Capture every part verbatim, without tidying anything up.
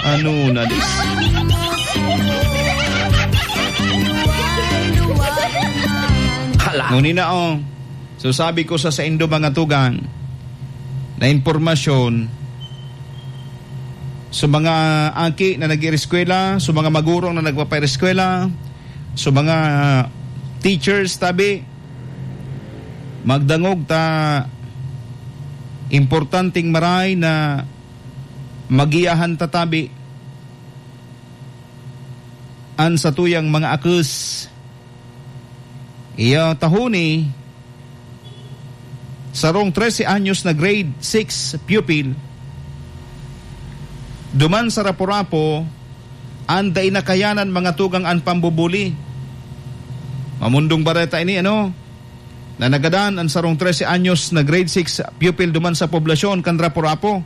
Ano na dis? Hala. Ngunina, oh. So, sabi ko sa saindo, mga tugang, na impormasyon, sa mga aki na nag-ireskwela, sa mga magurong na nagpapaireskwela, sa mga teachers, tabi, magdangog ta, importanteng maray na magiyahan ta, tabi, an satuyang mga akes. Iya tahoni, sarong trese anyos na grade six pupil, duman sa Rapu-Rapu, an dai nakayanan, mga tugang, an pambubuli. Mamundong bareta ini, ano, na nagadan an sarong trese anyos na grade six pupil duman sa poblasyon kan Rapu-Rapu.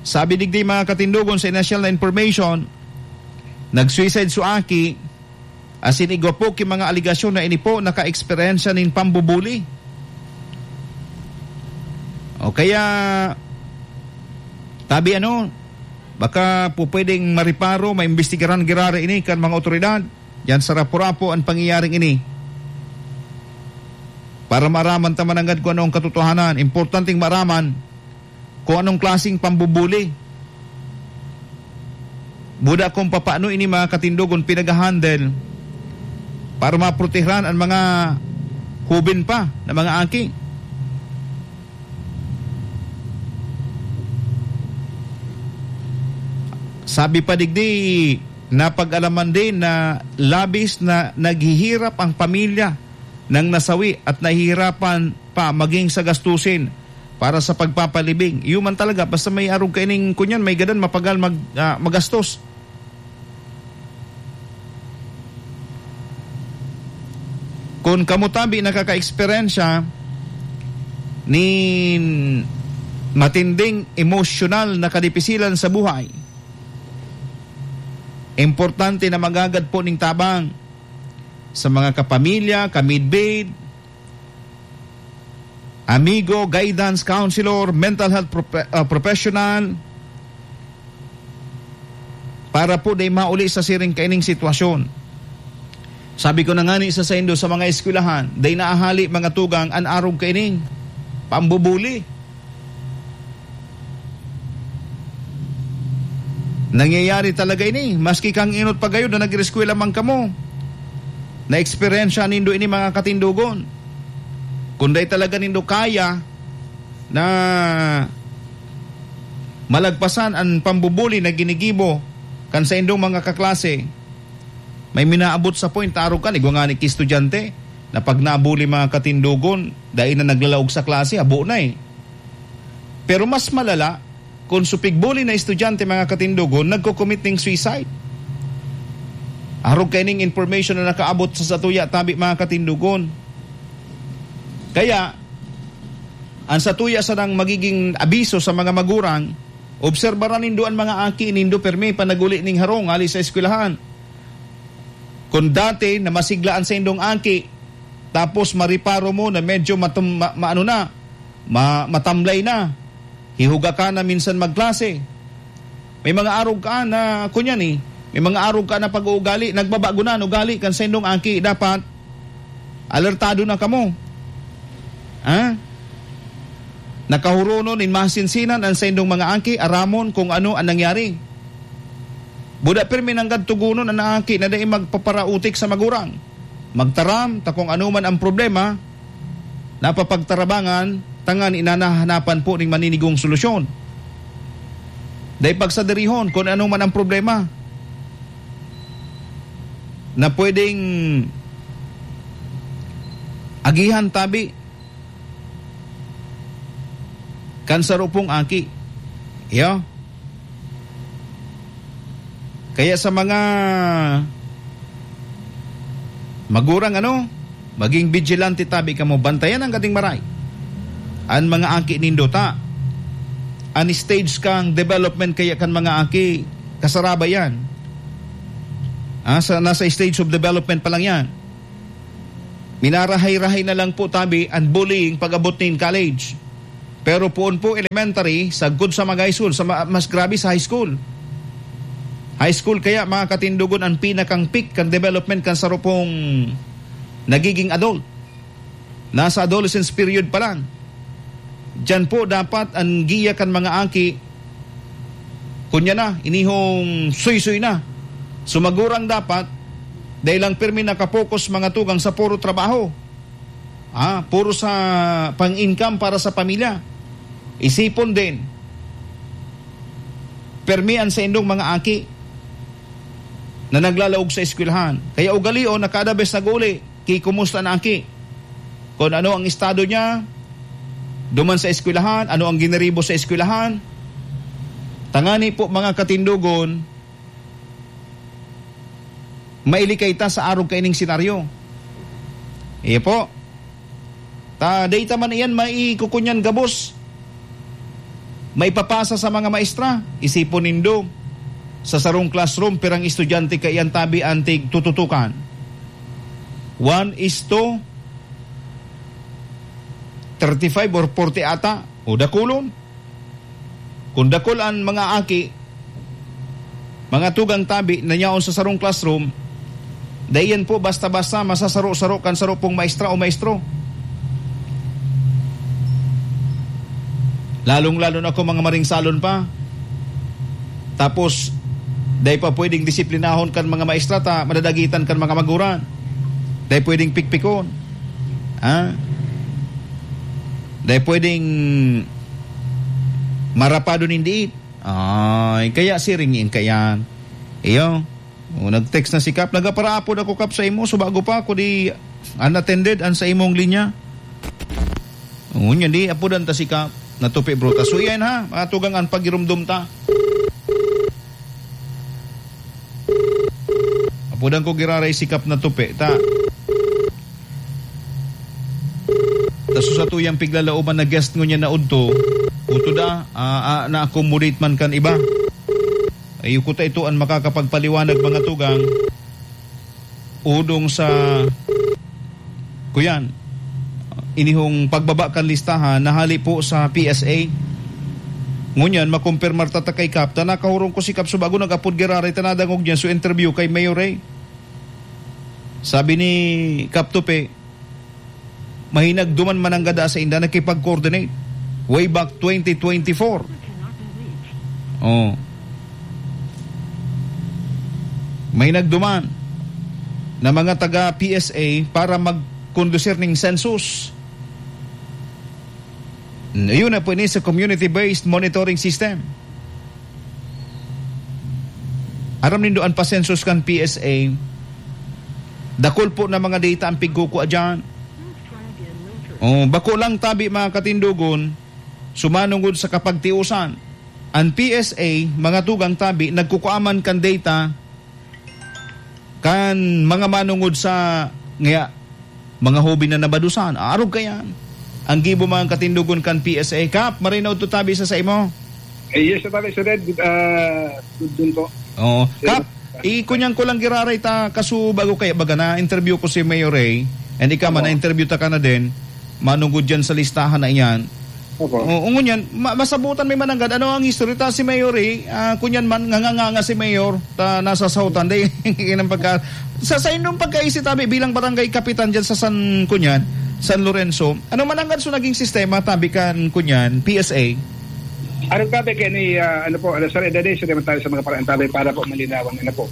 Sabi digdi, mga katindogon, sa initial na information, nag-suicide so aki, asin igwa po ki mga aligasyon na ini po naka-eksperyensya nin pambubuli. O kaya, tabi ano, baka po pwedeng mariparo, maimbestigaran girare ini kan mga otoridad diyan sa Rapu-Rapu an pangyayaring ini. Para maaraman ta mananggad kung ano ang katotohanan, importanteng maaraman kung anong klaseng pambubuli. Buda kung papaano ini, mga katindogon, pinag-handle para maprotehiran ang mga hubin pa na mga aki. Sabi pa digdi, napag-alaman din na labis na naghihirap ang pamilya ng nasawi at nahihirapan pa maging sa gastusin para sa pagpapalibing. Iyo man talaga, basta may arog kaining kunyan, may gadan mapagal mag-, ah, magastos. Kun kamo tabi nakaka-eksperyensya nin matinding emosyonal na kadipisilan sa buhay, importante na maghagad po ning tabang sa mga kapamilya, kamidbid, amigo, guidance counselor, mental health prope-, ah, professional, para po dai mauli sa siring kaining sitwasyon. Sabi ko na ngani sa saindo, sa mga eskwelahan, dai naahali, mga tugang, an arog kaining pambubuli. Nangyayari talaga ini, maski kang inot pa gayon na nag-eskwela man kamo. Na-eksperyensya nindo ini, mga katindogon. Kung dai talaga nindo kaya na malagpasan an pambubuli na ginigibo kan saindong mga kaklase, may minaabot sa point, arog kan, igwa ngani ki estudyante na pag nabuli, mga katindogon, dai na naglalaog sa klase, habo na eh. Pero mas malala, kun so pigbuli na estudyante, mga katindogon, nagko-commit ning suicide. Arog kaining information na nakaabot sa satuya tabi, mga katindogon. Kaya, ang satuya sanang magiging abiso sa mga magurang, obserbaran nindo an mga aki nindo permi panaguli ning harong hali sa eskwelahan. Kun dati na masigla an saindong aki, tapos mariparo mo na medyo matum-, ma-, maano na, ma-, matamlay na, hihuga ka na minsan magklase. May mga arog ka na, kunyan eh, may mga arog ka na pag-uugali, nagbabago na an ugali kan saindong aki, dapat alertado na kamo. Ha? Nakahuronon nin masinsinan an saindong mga aki, aramon kung ano an nangyari. Buda pirmi nanggad tugonon an aki na dai magpaparautik sa magurang. Magtaram ta kung ano man ang problema, napapagtarabangan, tangan inanahanapan po ning maninigong solusyon. Dai pagsadirihon kung ano man ang problema na pwedeng agihan tabi kan saro pong aki. Iyo. Kaya sa mga magurang, ano, maging vigilante tabi kamo, bantayan ang gating maray. An mga aki nindo ta, an stage kang development kaya kan mga aki, kasaraba yan. Ah, sa, nasa stage of development pa lang yan. Minarahay-rahay na lang po tabi an bullying pag-abot nin college. Pero poon po elementary, sagkod sa Magay School, sa ma-, mas grabe sa high school. High school kaya, mga katindogon, ang pinakang peak kan development kan saro pong nagiging adult. Nasa adolescence period pa lang. Diyan po dapat ang giya kan mga aki, kunya na, inihong suysoy na. So, magurang dapat, dahil lang pirmi nakapokus mga tugang sa puro trabaho. Ah, puro sa pang-income para sa pamilya. Isipon din, permi an saindong mga aki na naglalaog sa eskwelahan. Kaya ugalion na kada bes nag-uli, ki kumusta na aki? Kung ano ang estado niya, duman sa eskwelahan, ano ang giniribo sa eskwelahan. Tangani po, mga katindogon, mailikay ta sa arog kaining senaryo. Iyo po. Ta, data man iyan maikukunyan gabos. Maipapasa sa mga maestra. Isipon nindo, sa sarong classroom, pirang estudyante kaiyan tabi an tig tututukan? One is to thirty-five or forty ata. O dakulon. Kung dakul an mga aki, mga tugang tabi na yaon sa sarong classroom, dai yan po basta-basta masasaro-saro kan saro pong maestra o maestro. Lalong-lalo na kung mga maringsalon pa. Tapos, dai pa pwedeng disiplinahon kan mga maestra ta madadagitan kan mga maguran. Dai pwedeng pikpikon. Ha? Dai pwedeng marapado nin diit. Ay, kaya siring in kayan. Iyo. O, nag-text na si Kap. Nagaparaapod ako, Kap, sa imo. So, bago pa ako di unattended an sa imong linya. O, ngunyan, di, apodan ta si Kap. Natupi, bruta. So, yan, ha. Mga tugang an pagirumdom ta. Apodan ko giraray si Kap Natupi. Ta. Ta, so, sa tuyang piglalaoman na guest ngunyan na udto, utod, ah, ah, ah, na-accommodate man kan iba. Ay, kuta ito an makakapagpaliwanag, mga tugang, udong sa, kuyan, inihong pagbaba kan listahan na hali po sa P S A. Ngunyan, makumpirmar ta ta kay Kap, ta nakahurong ko si Kap Subago, nag-apod giraray ta nadangog niya so interview kay Mayor Ray. Sabi ni Kap Tupi, mahinagduman mananggada sa inda nakipag-coordinate way back twenty twenty-four. Oh. Mahinagduman na mga taga P S A para mag-conducir ning census. Ayun na po ini sa community-based monitoring system. Aram nindo an pa-census kan P S A, dakul po na mga data ang pigkukua diyan. Oh, bako lang tabi, mga katindogon, sumanungod sa kapagtiusan. An P S A, mga tugang tabi, nagkukua man kan data kan mga manungod sa, ngaya, mga hobi na nabadusan. Arog kayan. Ang gibo, mga katindogon, kan P S A. Kap, marinaw to tabi sa, sa imo. Eh, yes, Sir Alex, Sir Ed, ah, good din po. Oo. Sir, Kap, ikunyan ko lang giraray ta, kaso bago kaya baga na interview ko si Mayor Ray, and ikaw man, Opo. Na-interview ta ka na din, manungod dyan sa listahan na iyan. Opo. Oo, ngunyan, ma-, masabutan may mananggad. Ano ang history ta si Mayor Ray? Ah, kunyan man, nganganganga si Mayor, ta nasa sautan. Dahil, yan ang pagka-, sa, sa inyong pagkaisip, tabi, bilang barangay kapitan dyan sa San, kunyan, San Lorenzo, ano mananggad so naging sistema, tabi kan, kunyan, P S A? Ano, tabi, kaya ni, ah, ano po, ano, sorry, dali, sorry, tayo sa mga parang tabi para po malinawan, ano po.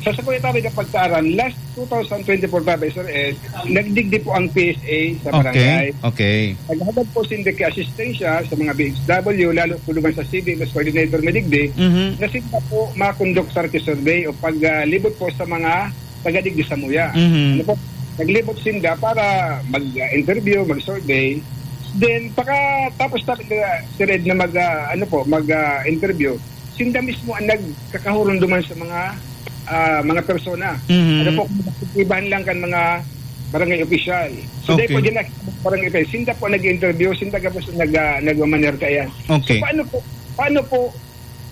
Sa, sa kuya tabi, kapag taaran, last two thousand twenty-four tabi, sir, eh, nagdigdi po ang P S A sa Okay, barangay. Okay. Naghagad po sinda kay asistensya sa mga B H W, lalo po naman sa C D M S coordinator na digdi, Mhm. na sinda po makonduktar ki survey o pag, ah, libot po sa mga taga-digdi sa Muya. Mhm. Ano po? Naglibot sinda para mag-interview, mag-survey. Then, paka, tapos na, sir Ed, na mag, ah, ano po, mag, ah, interview, sinda mismo ang nagkakahurunduman sa mga, ah, mga persona. Mhm. Ano po, kung ibahan lang kan mga barangay official. So, Okay. dahil po dyan na barangay official, sinda po nag-interview, sinda gabos nag, ah, nagmamaner kaya. Okay. So, paano po, paano po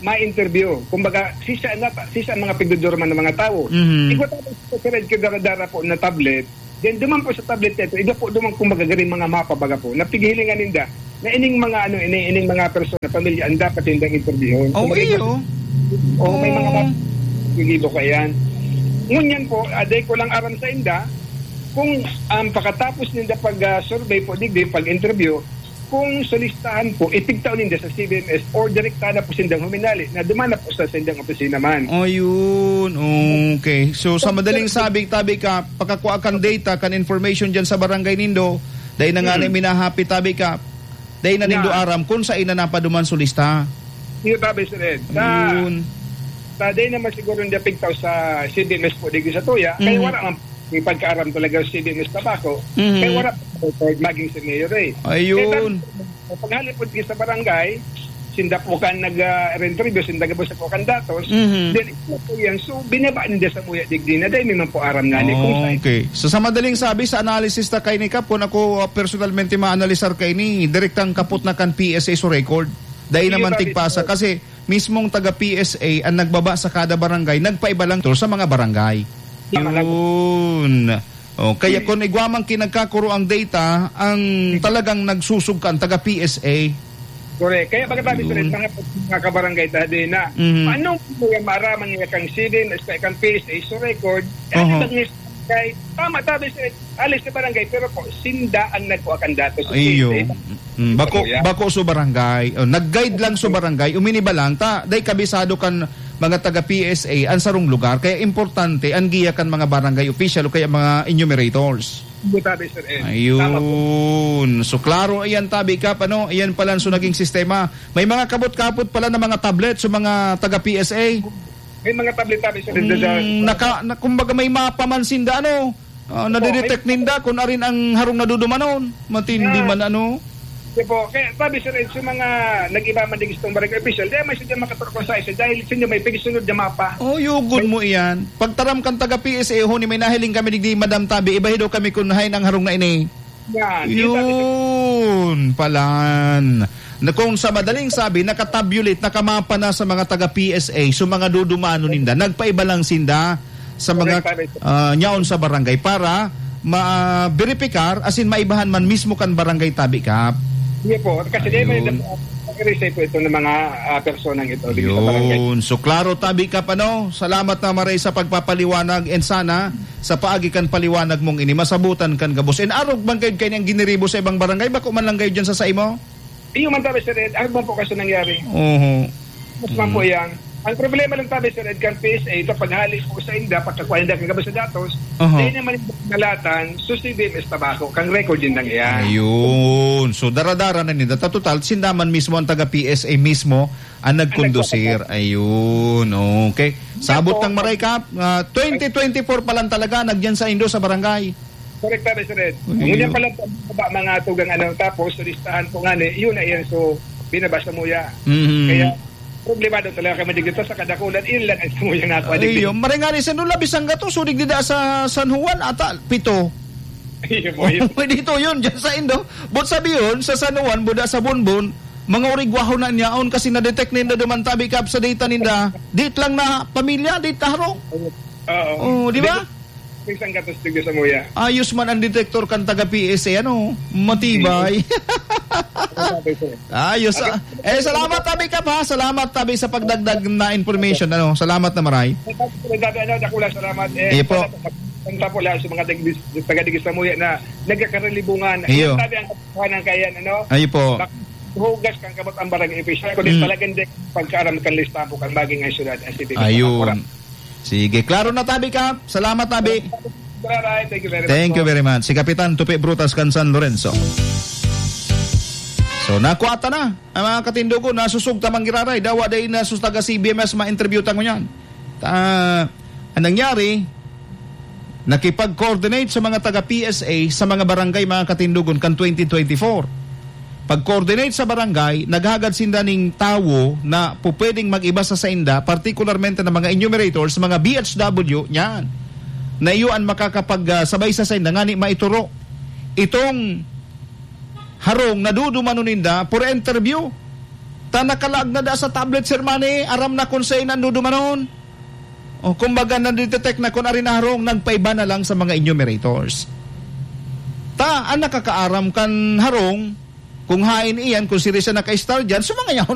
ma-interview? Kumbaga, sisa na, sisa ang mga pigdodorman ng mga tao. Mhm. Igwa tapos sa red kadara-dara po na tablet, then duman po sa tablet na ito, igwa po duman, kumbaga, garing mga mapa, baga po, napighilingan ninda. na ining mga, ano, ini, ining mga persona, pamilya, ang dapat nindang interviewon. So, Oh, may iyo. mga, oh, may mga Oh. nag-iibo ka yan. Ngunyan po, ah, dai ko lang aram sa inda, kung, um, pakatapos ninda pag, ah, survey po, digdi, pag-interview, kung solistahan po, ipigtao ninda sa C B M S or direkta na po sindang huminali na dumana po sa sindang opisina man. Ayun, okay. So, sa madaling sabi, tabi ka, pakakua kan data, kan information dyan sa barangay nindo, dahil na nga Mm. na minahapit, tabi ka, dahil na nindo Yeah. aram kung saan na napaduman sa lista. Iyo, tabi, Sir Ed. Sa, Yun. sa day naman siguro hindi pigtaw sa C B M S po, digdi sa Tuya, kaya Mhm. wala ang may pagkaaram talaga sa C B M S Tabaco. Mhm. Kaya wala po record maging si Mayor eh. Ayun. Kaya tabi, pag halipod sa barangay, sinda po kan nag, ah, interview, sinda gabos po kan datos, Mhm. then ito po yan. So, binaba ninda sa Muya digdi na, dahil may man po aram nga ni kung saan. Okay. So, sa madaling sabi, sa analysis ta kaini, Kap, kung ako, ah, personalmente maanalisar kaini, direktang kapot na kan P S A so record. Dahil Sige, naman tabi. tigpasa. Kasi, mismong taga P S A ang nagbaba sa kada barangay, nagpaiba lang to sa mga barangay. Tama lang. Yun. Oh, kaya Hmm. kung igwa man kinagkakuro ang data, ang Hmm. talagang nagsusugka ang taga P S A. Correct. Kaya pagkatabi sa Yun. mga, mga kabarangay, tabi na, Mhm. paano mo yung maaraman niya kang C B M S, kang P S A, so record, Oho. ano bang barangay? Tama, tabi sa alis sa barangay, pero po, sinda ang nagkuha kang datos sa Iyo. P S A. Mm, bako, Kuya. bako so barangay. Oh, nag-guide lang so barangay. Uminiba lang ta, dai kabisado kan mga taga P S A ang sarong lugar. Kaya importante ang giya kan mga barangay official o kaya mga enumerators. Hindi, tabi, Sir Ed. Tama po. Ayun. So, klaro, ayan, tabi ka, ano? Ayan pala, so, naging sistema. May mga kabot-kabot pala na mga tablet sa mga taga P S A. May mga tablet, tabi, Sir Ed, Mm, sa naka, na, kumbaga, may mapa man sinda, ano? Ah, Opo, nadidetect may ninda kung arin ang harong nadudumanon. Matindi Yeah. man, ano? Sige po. Kaya, tabi, Sir Ed, sa mga nag-iba man digdi sa barangay official, dahil may sadya makaturko sa isa, dahil sa inyo may pagsunod na mapa. Oh, yugon May mo iyan. Pagtaram kan taga P S A, huni may nahiling kami digdi, Madam Tabi, ibahi daw kami kung hain ang harong na ini. Yan. Yun, palan. Na kung sa madaling sabi, nakatabulate, nakamapa na sa mga taga P S A, so mga dudumano ninda, nagpaiba lang sinda sa mga, Correct, tabi. ah, nyaon sa barangay para ma-, beripikar, as in, maibahan man mismo kan barangay tabi, Kap. Hindi po. Kasi di may Ayun. nag-, nag-resign po ito ng mga, ah, personang ito dito sa barangay. Yun. So, klaro, tabi, Kap, ano? Salamat na maray sa pagpapaliwanag and sana sa paagi kan paliwanag mong ini, masabutan kan gabos. And arog man kayo kayo niyang giniribo sa ibang barangay, bako man lang kayo dyan sa saimo? Iyo man tabi, Sir Ed. Ano ba po kasi nangyari? Oho. Mas man po Mm. yan. Ang problema lang tabi, Sir Ed, kan P S A, ito paghali po sa inda, pagkakuha inda kagabi sa datos, Aha. Di naman yung nalatan, so C B M S Tabaco, kang record yun lang yan. Ayun. So, daradara na nila. Ta total, sinda man mismo ang taga P S A mismo ang nagkondusir. Ayun. Okay. Sabot Opo. Ng maray, Kap, ah, twenty twenty-four pa lang talaga, nagyan sa indo sa barangay. Correct, Sir Ed. Ayun. Ngunyan pa lang po, mga tugang ano, tapos, listahan po nga ni, yun na yan, so, binaba sa Muya. Mhm. Kaya, problemado talaga kami dito sa kadakulan, yun lang ang Muya nga ako, Ay, adik. Yun. Maray nga ni, sa Nula, Bisangga to, sudig dida sa San Juan, ata, pito. Ayun po, yun. Pwede ito yun, dyan sa indo. But sabi yun, sa San Juan, buda sa Bonbon, mga urigwaho na niyaon kasi na-detect ninda duman tabi, Kap, sa data ninda. Dit lang na pamilya, dit na harong. Oo. Oh, di ba? May isang gatos tigil sa Muya. Ayos man ang detector kan taga P S A, ano? Matibay. Ano sabi ko? Ayos, ah. Eh, salamat, tabi, Kap, ha? Salamat, tabi, sa pagdagdag na information, ano? Salamat na maray. Sabi, ano, dakula, salamat. Eh, Iyo po. Sana po, sana po lahat sa mga taga-, taga-digis sa Muya na nagkakaralibungan. Iyo. Sabi ang katotohanan kaya, ano? Iyo po. Bak-, hugas kang kamot ang barangay official. Kundi Mm. talagang di pagkaaram kan listahan po kan maging ang syudad, ang city. Ayun. Sige, klaro na, tabi, Kap. Salamat, tabi. Bye-bye. Thank you very much Thank you po. Very much. Si Kapitan Tupi Brutas kan San Lorenzo. So, nakuha ta na ang mga katindogon, nasusog ta man giraray. Dawa dai na sus taga C B M S ma-interview ta ngunyan. Ta, ang nangyari, nakipag-coordinate sa mga taga P S A sa mga barangay, mga katindogon, kan twenty twenty-four. Pag-coordinate sa barangay, naghagad sinda ning tawo na pupwedeng mag-iba sa sainda, partikularmente ng mga enumerators, mga B H W, niyan. Na iyo an makakapag, ah, sabay sa sainda, ngani maituro itong harong na dudumanon ninda for interview. Ta nakalaag na da sa tablet, Sir Manny, aram na kung sain ang dudumanon. O, kumbaga, nadidetect na kun arin na harong, nagpaiba na lang sa mga enumerators. Ta, ang nakakaaram kan harong, Kung haen iyan, kung siring siya naka-star dyan, so mga yaon